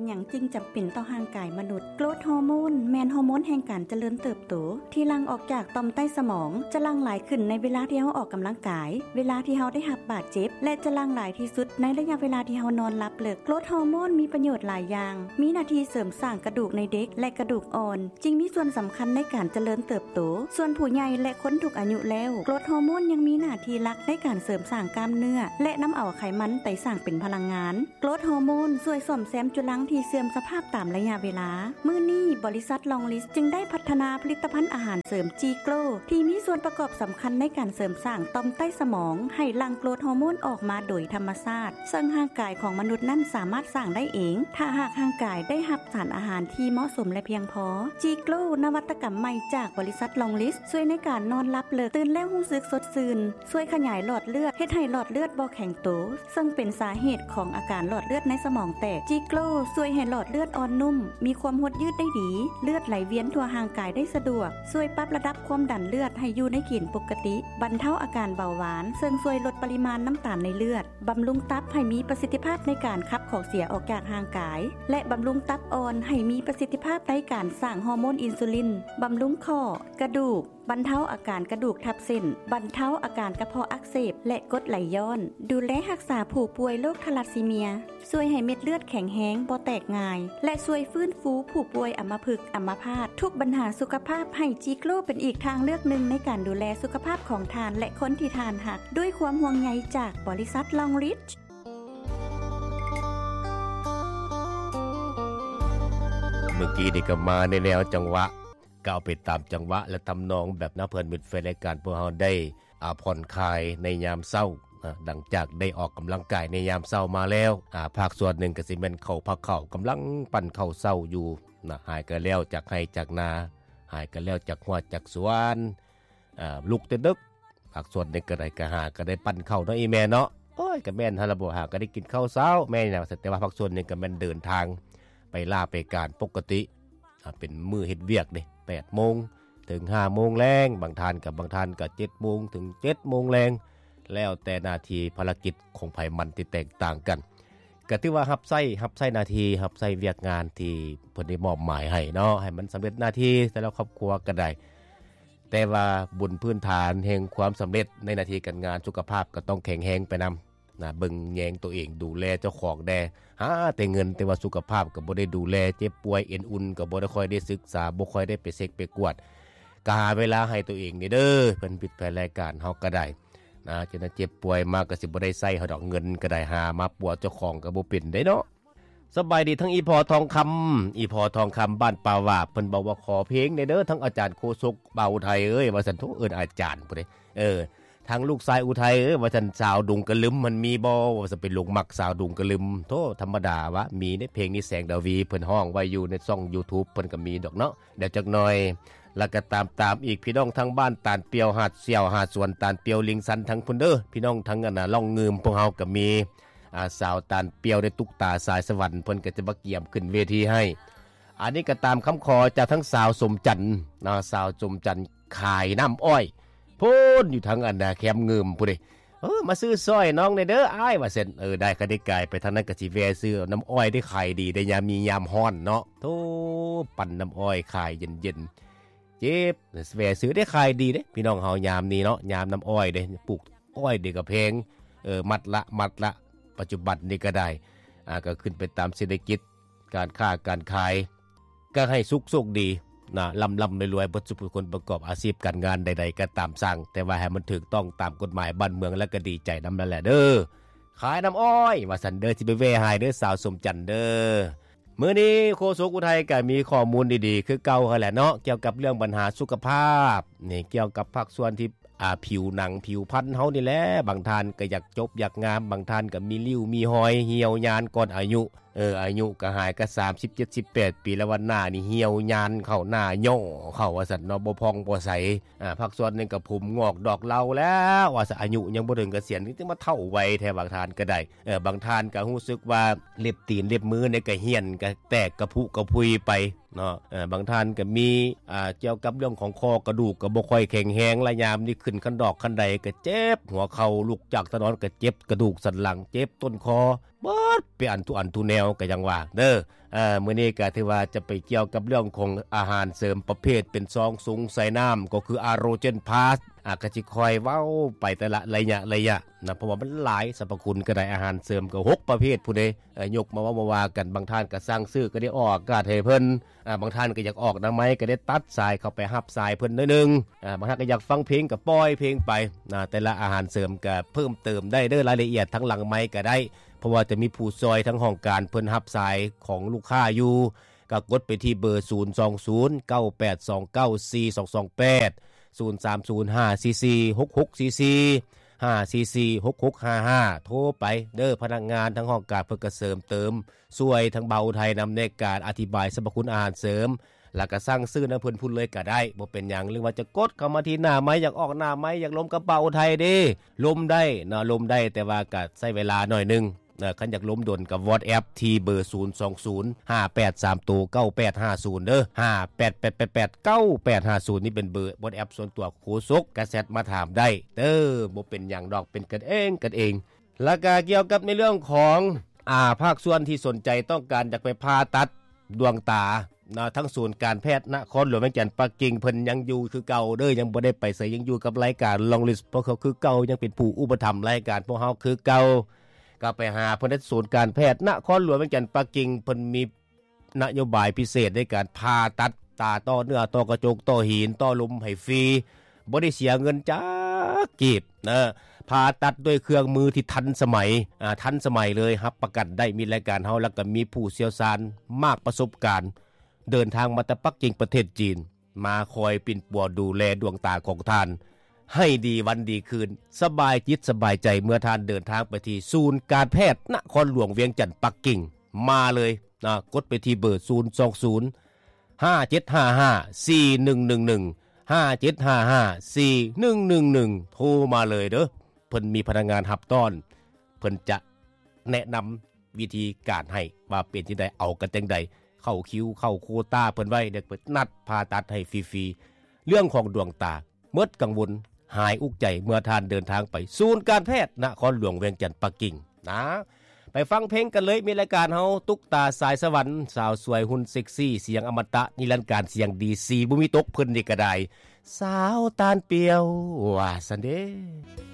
ຫຍັງຈຶ່ງຈຳເປັນຕໍ່ຮ່າງກາຍມະນຸດ? ໂກຣດຮໍໂມນແມ່ນຮໍໂມນແຫ່ງການຈະເລີນເຕີບໂຕ ທີ່ຫຼັ່ງອອກຈາກຕ່ອມໃຕ້ສະໝອງ, ຈະຫຼັ່ງຫຼາຍຂຶ້ນໃນເວລາທີ່ເຮົາອອກກຳລັງກາຍ, ເວລາທີ່ເຮົາໄດ້ຮັບບາດເຈັບ ແລະ ຈະຫຼັ່ງຫຼາຍທີ່ສຸດໃນໄລຍະເວລາທີ່ເຮົານອນຫຼັບເລິກ. ໂກຣດຮໍໂມນມີປະໂຫຍດຫຼາຍຢ່າງ, ມີໜ້າທີ່ເສີມສ້າງກະດູກໃນເດັກ ແລະ ກະດູກອ່ອນ, ຈຶ່ງມີສ່ວນສຳຄັນໃນການຈະເລີນເຕີບໂຕ. ສ່ວນຜູ້ໃຫຍ່ ແລະ ຄົນທຸກອາຍຸແລ້ວ, ໂກຣດຮໍໂມນຍັງມີໜ້າທີ່ຫຼັກໃນການເສີມສ້າງກ້າມເນື້ອ ແລະ ນຳເອົາໄຂມັນໄປສ້າງເປັນພະລັງງານ. ໂກຣດຮໍໂມນຊ່ວຍສ້ອມແຊມຈຸລັງທີ່ເສື່ອມສະພາບຕາມໄລຍະເວລາ. ມື້ນີ້, ບໍລິສັດ Longlist ຈຶ່ງໄດ້ພັດທະນາຜະລິດຕະພັນອາຫານເສີມ G-Grow ທີ່ມີສ່ວນປະກອບສຳຄັນໃນການເສີມສ້າງຕ່ອມໃຕ້ສະໝອງໃຫ້ຫຼັ່ງໂກຣດຮໍໂມນອອກມາໂດຍທຳມະຊາດ, ເຊິ່ງຮ່າງກາຍຂອງມະນຸດນັ້ນສາມາດສ້າງໄດ້ເອງ ຖ້າຫາກຮ່າງກາຍໄດ້ຮັບສານອາຫານທີ່ເໝາະສົມ ແລະ ພຽງພໍ. G-Grow ນະວັດຕະກຳໃໝ່ຈາກບໍລິສັດ Longlist ຊ່ວຍໃນການນອນຫຼັບເລິກ, ຕື່ນແລ້ວຮູ້ສຶກສົດຊື່ນ, ຊ່ວຍຂະຫຍາຍຫຼອດເລືອດ, ເຮັດໃຫ້ຫຼອດເລືອດບໍ່ແຂງໂຕ, ເຊິ່ງເປັນສາເຫດຂອງອາການຫຼອດເລືອດໃນສະໝອງແຕກ. G-Grow ຊ່ວຍໃຫ້ຫຼອດເລືອດອ່ອນນຸ້ມ, ມີຄວາມຫົດຍືດໄດ້ດີ, ເລືອດໄຫຼວຽນທົ່ວຮ່າງກາຍໄດ້ສະດວກ, ຊ່ວຍປັບລະດັບຄວາມດັນເລືອດໃຫ້ຢູ່ໃນເກນປົກກະຕິ, ບັນເທົາອາການເບົາຫວານ, ເຊິ່ງຊ່ວຍລົດປະລິມານນ້ຳຕານໃນເລືອດ, ບຳລຸງຕັບໃຫ້ມີປະສິດທິພາບໃນການຂັບຂອງເສຍອອກຈາກຮ່າງກາຍ ແລະ ບຳລຸງຕັບອ່ອນໃຫ້ມີປະສິດທິພາບໃນການສ້າງຮໍໂມນອິນຊູລິນ, ບຳລຸງຂໍ້, ກະດູກ, ບັນເທົາອາການກະດູກທັບເສັ້ນ, ບັນເທົາອາການກະເພາະອັກເສບ ແລະ ກົດໄຫຼຍ້ອນ, ດູແລຮັກສາຜູ້ປ່ວຍໂລກທາລັດຊີເມຍ, ຊ່ວຍໃຫ້ເມັດເລືອດແຂງແຮງ, ບໍ່ແຕກງ່າຍ ແລະ ຊ່ວຍຟື້ນຟູຜູ້ປ່ວຍອຳມະພຶກ, ອຳມະພາດ, ທຸກບັນຫາສຸຂະພາບ, ໃຫ້ G-Grow ເປັນອີກທາງເລືອກໜຶ່ງໃນການດູແລສຸຂະພາບຂອງທ່ານ ແລະ ຄົນທີ່ທ່ານຮັກ, ດ້ວຍຄວາມຫ່ວງໃຍຈາກບໍລິສັດ Longlist. ເມື່ອກີ້ນີ້ກໍມາໃນແນວຈັງຫວະ ກໍເອົາໄປຕາມຈັງຫວະ ແລະ ທຳນອງ ແບບນຳເພື່ອນມິດແຟນລາຍການພວກເຮົາໄດ້ ອ່າ ຜ່ອນຄາຍໃນຍາມເຊົ້າ ນະ ຫຼັງຈາກໄດ້ອອກກຳລັງກາຍໃນຍາມເຊົ້າມາແລ້ວ ອ່າ ພາກສ່ວນໜຶ່ງກໍຊິແມ່ນເຂົ້າພັກເຂົ້າ ກຳລັງປັ້ນເຂົ້າເຊົ້າຢູ່ ນະ ຫາກໍແລ້ວຈາກໄຮ່ຈາກນາ ຫາກໍແລ້ວຈາກຮົ້ວຈາກສວນ ອ່າ ລຸກແຕ່ດຶກ ພາກສ່ວນໜຶ່ງກໍໄດ້ ກໍຫາກໍໄດ້ປັ້ນເຂົ້າເນາະ ອີ່ແມ່ເນາະ ໂອ້ຍ ກໍແມ່ນຫັ້ນລະ ບໍ່ຫາກໍໄດ້ກິນເຂົ້າເຊົ້າ ແມ່ນຫຍັງ ແຕ່ວ່າພາກສ່ວນໜຶ່ງກໍແມ່ນເດີນທາງໄປລາໄປການປົກກະຕິ ອ່າ ເປັນມື້ເຮັດວຽກເດ້ ແປດໂມງເຖິງຫ້າໂມງແລງ ບາງທ່ານກໍ ບາງທ່ານກໍເຈັດໂມງເຖິງເຈັດໂມງແລງ ແລ້ວແຕ່ໜ້າທີ່ພາລະກິດຂອງໃຜມັນທີ່ແຕກຕ່າງກັນ ກໍຖືວ່າຮັບໃຊ້ ຮັບໃຊ້ໜ້າທີ່ ຮັບໃຊ້ວຽກງານທີ່ເພິ່ນໄດ້ມອບໝາຍໃຫ້ເນາະ ໃຫ້ມັນສຳເລັດໜ້າທີ່ແຕ່ລະຄອບຄົວກໍໄດ້ ແຕ່ວ່າບົນພື້ນຖານແຫ່ງຄວາມສຳເລັດໃນໜ້າທີ່ການງານ ສຸຂະພາບກໍຕ້ອງແຂງແຮງໄປນຳ ນະ ເບິ່ງແຍງໂຕເອງ ດູແລເຈົ້າຂອງແດ່ ຫາແຕ່ເງິນ ແຕ່ວ່າສຸຂະພາບກໍບໍ່ໄດ້ດູແລ ເຈັບປ່ວຍເອັນອຸ່ນກໍບໍ່ໄດ້ຄ່ອຍໄດ້ສຶກສາ ບໍ່ຄ່ອຍໄດ້ໄປເຊັກໄປກວດ ກໍຫາເວລາໃຫ້ໂຕເອງນີ້ເດີ ເພິ່ນປິດແຜນລາຍການເຮົາກໍໄດ້ນະ ຈະເຈັບປ່ວຍມາກໍຊິບໍ່ໄດ້ໃຊ້ເຮົາດອກ ເງິນກໍໄດ້ຫາມາປົວເຈົ້າຂອງກໍບໍ່ເປັນເດ້ເນາະ. ສະບາຍດີທັງອີ່ພໍ່ທອງຄຳ ອີ່ພໍ່ທອງຄຳບ້ານປ່າຫວາບ ເພິ່ນບອກວ່າຂໍເພງແດ່ເດີ ທັງອາຈານໂຄສົກ ບ່າວໄທເອີຍ ວ່າຊັ້ນ ໂທ ເອີ້ນອາຈານພຸ້ນເດ້ ເອີ ທາງລູກຊາຍອຸໄທເອີຍ ວ່າຊັ້ນ ສາວດົງກະລຶມມັນມີບໍ່ ວ່າຊັ້ນ ໄປຫຼົງມັກສາວດົງກະລຶມ ໂທ ທຳມະດາວະ ມີໃນເພງນີ້ ແສງດາວີ ເພິ່ນຮ້ອງໄວ້ຢູ່ໃນຊ່ອງຢູທູບ ເພິ່ນກໍມີດອກເນາະ ດຽວຈັກໜ່ອຍ ແລ້ວກໍຕາມ ຕາມອີກ ພີ່ນ້ອງທາງບ້ານຕານປ່ຽວ ຫາດສ່ຽວ ຫາດສວນຕານປ່ຽວ ລິງຊັນ ທາງພຸ້ນເດີ ພີ່ນ້ອງທາງ ອັນນ່າ ລ່ອງງື່ມ ພວກເຮົາກໍມີ ອ່າ ສາວຕານປ່ຽວ ໄດ້ຕຸກຕາສາຍສະຫວັນ ເພິ່ນກໍຈະມາກຽມຂຶ້ນເວທີໃຫ້ ອັນນີ້ກໍຕາມຄຳຂໍຈາກທັງສາວສົມຈັນນະ ສາວສົມຈັນຂາຍນ້ຳອ້ອຍ ພຸ້ນຢູ່ທາງອັນນາແຄມງື່ມພຸ້ນເດ້ ເອີ ມາຊື້ຊ່ອຍນ້ອງແດ່ເດີອ້າຍ ວ່າຊັ້ນ ເອີ ໄດ້ ຄັນໄດ້ກາຍໄປທາງນັ້ນກໍຊິແວ່ຊື້ນ້ຳອ້ອຍ ໄດ້ຂາຍດີໄດ້ ຍາມມີຍາມຮ້ອນເນາະ ໂທ ປັ່ນນ້ຳອ້ອຍຂາຍເຢັນໆ ເຈັບ ແວ່ຊື້ໄດ້ຂາຍດີເດ້ ພີ່ນ້ອງເຮົາຍາມນີ້ເນາະ ຍາມນ້ຳອ້ອຍເດ້ ປູກອ້ອຍເດ້ກໍແພງ ເອີ ມັດລະ ມັດລະ ປັດຈຸບັນນີ້ກໍໄດ້ ອ່າ ກໍຂຶ້ນໄປຕາມເສດຖະກິດ ການຄ້າການຂາຍ ກໍໃຫ້ສຸກໂຊກດີນະ ລ່ຳໆລວຍໆ ເບິດສູ່ຜູ້ຄົນປະກອບອາຊີບການງານໃດໆກໍຕາມຊ່າງ ແຕ່ວ່າໃຫ້ມັນຖືກຕ້ອງຕາມກົດໝາຍບ້ານເມືອງ ແລ້ວກໍດີໃຈນຳນັ້ນແຫຼະເດີ ຂາຍນ້ຳອ້ອຍ ວ່າຊັ້ນເດີ ຊິໄປແວ່ໃຫ້ເດີ ສາວສົມຈັນເດີ. ມື້ນີ້ໂຄສົກອຸໄທກໍມີຂໍ້ມູນດີໆຄືເກົ່າຫັ້ນແຫຼະເນາະ ກ່ຽວກັບເລື່ອງບັນຫາສຸຂະພາບນີ້ ກ່ຽວກັບພາກສ່ວນທີ່ ອ່າ ຜິວໜັງຜິວພັນເຮົານີ້ແຫຼະ ບາງທ່ານກໍຢາກຈົບຢາກງາມ ບາງທ່ານກໍມີລິ້ວມີຮອຍ ຫ່ຽວຍານກ່ອນອາຍຸ ເອີ ອາຍຸກໍຫາຍກໍສາມສິບເຈັດ ສິບແປດປີແລ້ວ ວ່າໜ້ານີ້ຫ່ຽວຍານເຂົ້າ ໜ້າຫຍໍ້ເຂົ້າວ່າຊັ້ນເນາະ ບໍ່ຜ່ອງບໍ່ໃສ ອ່າ ພາກສ່ວນໜຶ່ງກໍຜົມງອກດອກເລົາແລ້ວ ວ່າຊັ້ນ ອາຍຸຍັງບໍ່ເຖິງກະສຽນຈັ່ງມາເຖົ້າໄວແທ້ ບາງທ່ານກໍໄດ້ ເອີ ບາງທ່ານກໍຮູ້ສຶກວ່າເລັບຕີນເລັບມືນີ້ກໍຫ້ຽນ ກໍແຕກກະພຸກະພຸຍໄປເນາະ ເອີ ບາງທ່ານກໍມີ ອ່າ ກ່ຽວກັບເລື່ອງຂອງຂໍ້ກະດູກກໍບໍ່ຄ່ອຍແຂງແຮງ ລະຍາມນີ້ຂຶ້ນຄັນດອກຄັນໄດກໍເຈັບຫົວເຂົ່າ ລຸກຈາກຕານອນກໍເຈັບກະດູກສັນຫຼັງ ເຈັບຕົ້ນຄໍ ເບິດ ເປັນອັນທຸອັນທຸແນວ ກໍຍັງວ່າເດີ. ເອີ ມື້ນີ້ກໍຖືວ່າຈະໄປກ່ຽວກັບເລື່ອງຂອງອາຫານເສີມປະເພດເປັນຊອງສູງໃສ່ນ້ຳ ກໍຄືອາໂຣເຈນພລັສ ອາ ກໍຊິຄ່ອຍເວົ້າໄປແຕ່ລະໄລຍະໄລຍະນະ ເພາະວ່າມັນຫຼາຍສັບພະຄຸນກໍໄດ້ ອາຫານເສີມກໍຫົກປະເພດພຸ້ນເດ້. ເອີ ຍົກມາເວົ້າມາວ່າກັນ ບາງທ່ານກໍສັ່ງຊື້ກໍໄດ້ອອກອາກາດໃຫ້ເພິ່ນ ອາ ບາງທ່ານກໍຢາກອອກໜ້າໄມ ກໍໄດ້ຕັດສາຍເຂົ້າໄປຮັບສາຍເພິ່ນໜ້ອຍໜຶ່ງ ອາ ບາງທ່ານກໍຢາກຟັງເພງກໍປ່ອຍເພງໄປນະ. ແຕ່ລະອາຫານເສີມກໍເພີ່ມເຕີມໄດ້ເດີ ລາຍລະອຽດທາງຫຼັງໄມກໍໄດ້ ເພາະວ່າຈະມີຜູ້ຊ່ອຍທາງຫ້ອງການເພິ່ນຮັບສາຍຂອງລູກຄ້າຢູ່ ກໍກົດໄປທີ່ເບີ ສູນສອງສູນ ເກົ້າແປດສອງເກົ້າ ສີ່ສອງສອງແປດ ສູນສາມສູນ ຫ້າສີ່ສີ່ ຫົກຫົກສີ່ສີ່ ຫ້າສີ່ສີ່ ຫົກຫົກຫ້າຫ້າ ໂທໄປເດີ. ພະນັກງານທາງຫ້ອງການເພິ່ນກໍເສີມເຕີມ ຊ່ວຍທາງບ່າວໄທນຳໃນການອະທິບາຍສັບພະຄຸນອາຫານເສີມ ແລ້ວກໍສັ່ງຊື້ນຳເພິ່ນພຸ້ນເລີຍກໍໄດ້ ບໍ່ເປັນຫຍັງ. ຫຼືວ່າຈະກົດເຂົ້າມາທີ່ໜ້າໄມ ຢາກອອກໜ້າໄມ ຢາກລົມກັບບ່າວໄທເດ້ ລົມໄດ້ເນາະ ລົມໄດ້ ແຕ່ວ່າກໍໃຊ້ເວລາໜ້ອຍໜຶ່ງເນາະ. ຄັນຢາກລົມດົນກໍ WhatsApp ທີ່ເບີ ສູນສອງສູນ ຫ້າແປດສາມໂຕ ເກົ້າແປດຫ້າສູນ ເດີ ຫ້າແປດແປດແປດ ເກົ້າແປດຫ້າສູນ ນີ້ເປັນເບີ WhatsApp ສ່ວນຕົວໂຄສົກ ກໍແຊັດມາຖາມໄດ້ເດີ ບໍ່ເປັນຫຍັງດອກ ເປັນກັນເອງກັນເອງ. ແລ້ວກໍກ່ຽວກັບໃນເລື່ອງຂອງ ອາ ພາກສ່ວນທີ່ສົນໃຈຕ້ອງການຢາກໄປຜ່າຕັດດວງຕາເນາະ ທາງສູນການແພດນະຄອນຫຼວງວຽງຈັນປັກກິ່ງ ເພິ່ນຍັງຢູ່ຄືເກົ່າເດີ ຍັງບໍ່ໄດ້ໄປໃສ ຍັງຢູ່ກັບລາຍການ Long List ພວກເຂົາຄືເກົ່າ ຍັງເປັນຜູ້ອຸປະຖຳລາຍການພວກເຮົາຄືເກົ່າ. ກໍໄປຫາເພິ່ນທີ່ສູນການແພດນະຄອນຫຼວງວຽງຈັນປັກກິ່ງ ເພິ່ນມີ ນະໂຍບາຍພິເສດໃນການຜ່າຕັດຕາ ຕໍ່ເນື້ອ ຕໍ່ກະຈົກ ຕໍ່ຫີນ ຕໍ່ລົມໃຫ້ຟຣີ ບໍ່ໄດ້ເສຍເງິນຈັກກີບເນາະ. ຜ່າຕັດດ້ວຍເຄື່ອງມືທີ່ທັນສະໄໝ ອາ ທັນສະໄໝເລີຍ ຮັບປະກັນໄດ້ ມີລາຍການເຮົາ ແລ້ວກໍມີຜູ້ຊ່ຽວຊານມາກປະສົບການ ເດີນທາງມາແຕ່ປັກກິ່ງປະເທດຈີນ ມາຄອຍປິ່ນປົວດູແລດວງຕາຂອງທ່ານ ໃຫ້ດີວັນດີຄືນ ສະບາຍຈິດສະບາຍໃຈ ເມື່ອທ່ານເດີນທາງໄປທີ່ສູນການແພດນະຄອນຫຼວງວຽງຈັນປັກກິ່ງ ມາເລີຍນະ ກົດໄປທີ່ເບີ ສູນສອງສູນ ຫ້າເຈັດຫ້າຫ້າ ສີ່ໜຶ່ງໜຶ່ງໜຶ່ງ ຫ້າເຈັດຫ້າຫ້າ ສີ່ໜຶ່ງໜຶ່ງໜຶ່ງ ໂທມາເລີຍເດີ. ເພິ່ນມີພະນັກງານຮັບຕ້ອນ ເພິ່ນຈະແນະນຳວິທີການໃຫ້ວ່າເປັນຈັ່ງໃດ ເອົາກັນຈັ່ງໃດ ເຂົ້າຄິວ ເຂົ້າໂຄຕາເພິ່ນໄວ້ ເດີ ເພິ່ນນັດຜ່າຕັດໃຫ້ຟຣີໆ. ເລື່ອງຂອງດວງຕາ ໝົດກັງວົນ ຫາຍອຸກໃຈ ເມື່ອທ່ານເດີນທາງໄປສູນການແພດນະຄອນຫຼວງວຽງຈັນປັກກິ່ງນະ. ໄປຟັງເພງກັນເລີຍ ມີລາຍການເຮົາ ຕຸກຕາສາຍສະຫວັນ ສາວສວຍຫຸ່ນເຊັກຊີ ສຽງອະມະຕະນິລັນການ ສຽງດີຊີບໍ່ມີຕົກ ເພິ່ນນີ້ກໍໄດ້ ສາວຕານປ່ຽວ ວ່າຊັ້ນເດ.